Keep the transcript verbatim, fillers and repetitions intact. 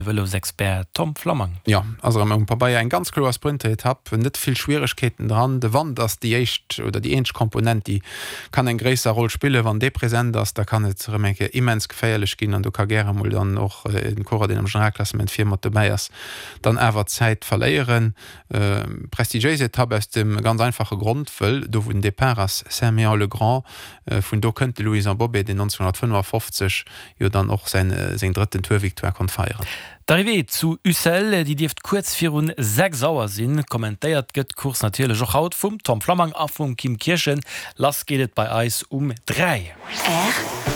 Vëlosexpert Tom Flammang. Jo, ass erëm um Pabeier eng ganz kloer Sprinteretapp, net vill Schwieregkeeten dran. De Wand ass déi éischt oder déi eenzeg Komponent, déi kann eng gréisser Roll spillen. Wann dee present ass, da kann et erëm eng Kéier immens geféierlech ginn an do ka gäre mol dann och en Coureur, deen am Generalklassement vir mat dobäi ass, dann awer Zäit verléieren. Prestigiéis Etapp aus dem ganz einfache Grond, wëll do wou den Depart ass, Saint-Méan-le-Grand, vun do kënnt de Louison Bobet, deen nonzénhunnertfënnefafofzeg jo dann och säin seng drëtten Tour-Victoire konnt feieren. D'Arrivée zu Ussel, déi dierft kuerz virun sechs Auer sinn. Kommentéiert gëtt d'Course natierlech och haut vum Tom Flammang a vum Kim Kirchen. Lass geet et bei eis um dräi.